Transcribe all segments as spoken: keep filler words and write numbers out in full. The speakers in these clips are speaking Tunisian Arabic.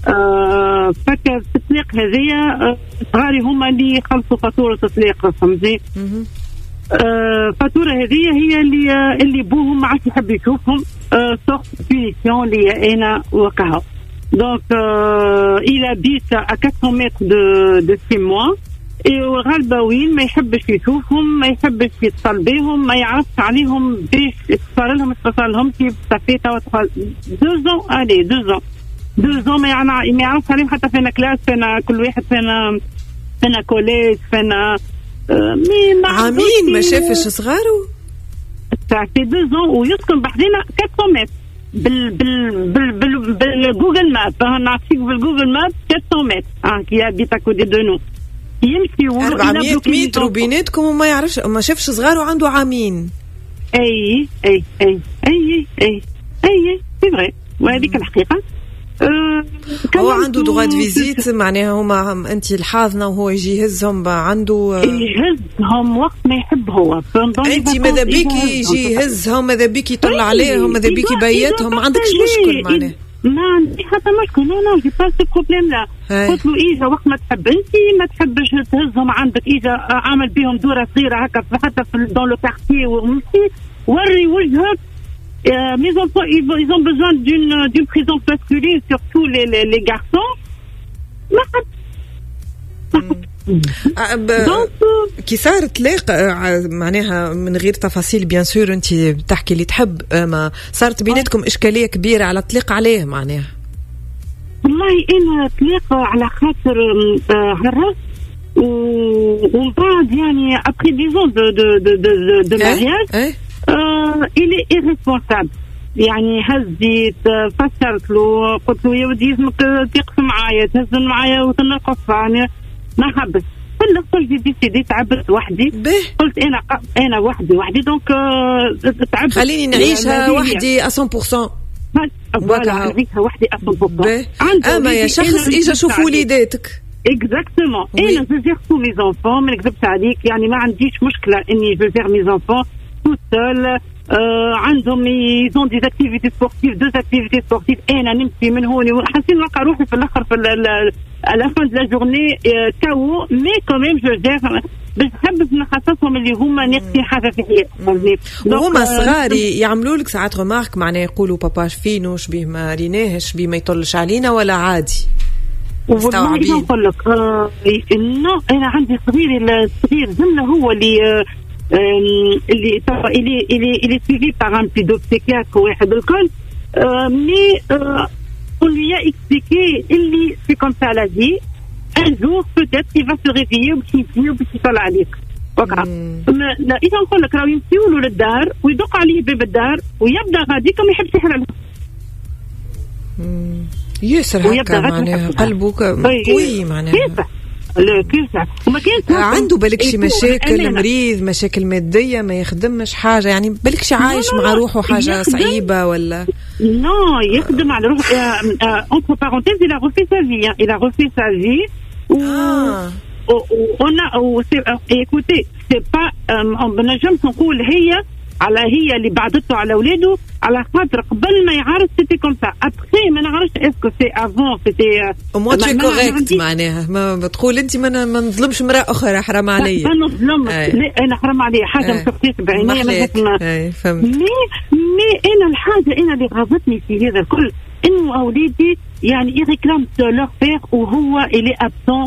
آه فك في الطلاق هذيا صغاري هما اللي خلصوا فاتورة الطلاق، فهمتي؟ آه فاتورة هذه هي اللي اللي بوهم ما عادش يحب يشوفهم، sorte punition اللي انا وقعها. donc il habite à quatre cents mètres de de chez moi، وغالبا وين ما يحبش يشوفهم، ما يحبش يتصل بهم، ما يعرفش عليهم باش صار لهم، صار لهم كيف. ça fait توا deux ans، allez، deux ans deux ans ما يعرفش عليهم حتى فينا classe، فينا كل واحد، فينا فينا collège، فينا mais عامين ما شافش صغارو. ça fait deux ans ويسكن بحذنا أربعمية متر بال بال بال بال بال Google Maps، نعطيك بال Google Maps أربعمية متر اه qui habite à côté de nous. يمشي أربعمية متر بيناتكم وما يعرفش، ما شافش صغارو عنده عامين. اي اي اي اي اي اي، c'est vrai، وهذيك الحقيقه. أه هو عنده droit de visite؟ معناها هما انت الحاضنة وهو يجي يهزهم؟ عنده؟ يهزهم وقت ما يحب هو. انت ماذا بيك يجي يهزهم، ماذا بيك يطلع عليهم، ماذا بيك يبيتهم، ما عندكش مشكل معناها؟ ما عندي حتى مشكل، non non، j'ai pas ce problème-là. قلت له اجا وقت ما تحب انت، ما تحبش تهزهم عندك، اجا اعمل بهم دوره صغيرة هكا حتى في dans le quartier ومشي وري وجهك. Euh, mes enfants, ils, ils ont besoin d'une d'une présence masculine, surtout les, les, les garçons. ما حد. كي صار طلاق، معناها من غير تفاصيل bien sûr، انت تحكي اللي تحب، ما صارت بيناتكم اشكالية كبيرة على الطلاق؟ عليه معناها؟ والله انا طلاق على خاطر عرس ومن بعد يعني après dix ans de de de de, de mariage il est irresponsable. يعني هزيت فسرت له، قلت له يا ودي لازمك تقف معايا، تهز معايا وتنقف، يعني ما حبس. في الاخر j'ai décidé، تعبت وحدي. به. قلت انا انا وحدي وحدي، donc تعبت. خليني نعيشها وحدي مية بالمية. voilà، نعيشها وحدي مية بالمية. اما يا شخص اجا شوف وليداتك. exactement، انا je gère tous mes enfants، ما نكذبش عليك، يعني ما عنديش مشكلة اني je gère mes enfants toute seule. عندهم ils ont des activités sportives، deux activités sportives، انا نمشي من هون، حاسين نلقى روحي في الاخر في à la fin de la journée K O، mais quand même je gère باش نحب نحسسهم اللي هما ناقصين حاجة في حياتهم. وهما صغار يعملوا لك ساعات remarques؟ معناها يقولوا بابا فينو، شبيه ما ريناهش، بيه ما يطلش علينا، ولا عادي؟ والله نقول لك آه non، انا عندي صغير، الصغير زمله هو اللي آه اللي اللي اللي اللي suivi par un pédopsychiatre واحد الكل، mais on lui a expliqué اللي c'est comme ça la vie، un jour peut-être il va se réveiller وباش يجي وباش يطلع عليك. وقع اذا نقول لك راهو يمشيو له للدار ويدق عليه باب الدار ويبدا غاديك وما يحبش يحل. ياسر هكا معناها قلبه قوي معناها. كيف كيف وما كانش عنده بالك شي مشاكل، مريض، مشاكل ماديه، ما يخدمش حاجه، يعني بالك شي عايش مع روحه حاجة صعيبة ولا؟ non، يخدم على روحه. entre parenthèses، il a refait sa vie، il a refait sa vie و on a écoutez، c'est pas نجمش نقول هي على هي اللي بعدته على اولاده، على خاطر قبل ما يعرس c'était comme ça، après ما نعرفش est-ce que c'est avant c'était au moins t'es correcte، معناها ما بتقول انت ما ما نظلمش امراة اخرى، حرام علي. ما نظلمش، لا انا حرام علي حاجة ما شفتيش بعيني. ما فهمت. mais mais انا الحاجة انا اللي غاضتني في هذا الكل انه اولادي يعني ils réclament leur père وهو il est absent،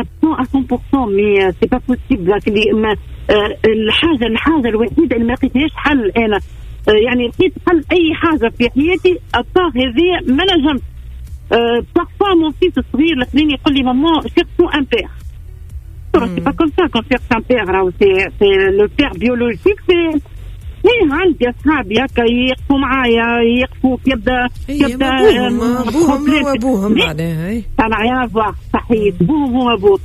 absent à cent pour cent، mais c'est pas possible. الحاجه الحاجه الوحيدة اللي ما لقيتهاش حل انا، يعني لقيت حل اي حاجة في حياتي à part هذه ما نجمت. parfois mon fils الصغير الاثنين يقول لي maman، cherchons un père. c'est pas comme ça qu'on cherche un père، راهو c'est c'est le père biologique، c'est ايه عندي اصحابي هكا يقفوا معايا، يقفوا يبدا يبدا ابوهم هو ابوهم معناها. ça n'a rien à voir، صحيح، بوهم هو ابوه.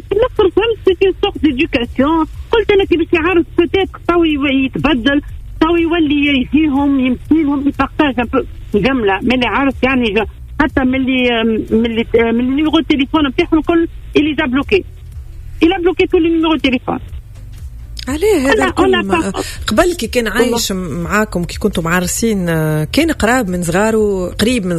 في الاخر فهمت c'est une sorte d'éducation. قلت انا كي باش يعرس peut-être تو يتبدل، تو يولي يجيهم، يمشي لهم، ي partage un peu جملة من اللي عارف، يعني حتى من اللي من اللي من ال numéro التليفون نتاعهم الكل il les a bloqués، il a bloqué tous les numéros téléphone. عليه هذا الكل؟ قبل كي كان عايش معاكم، كي كنتم معرسين، كان قراب من صغاره، قريب من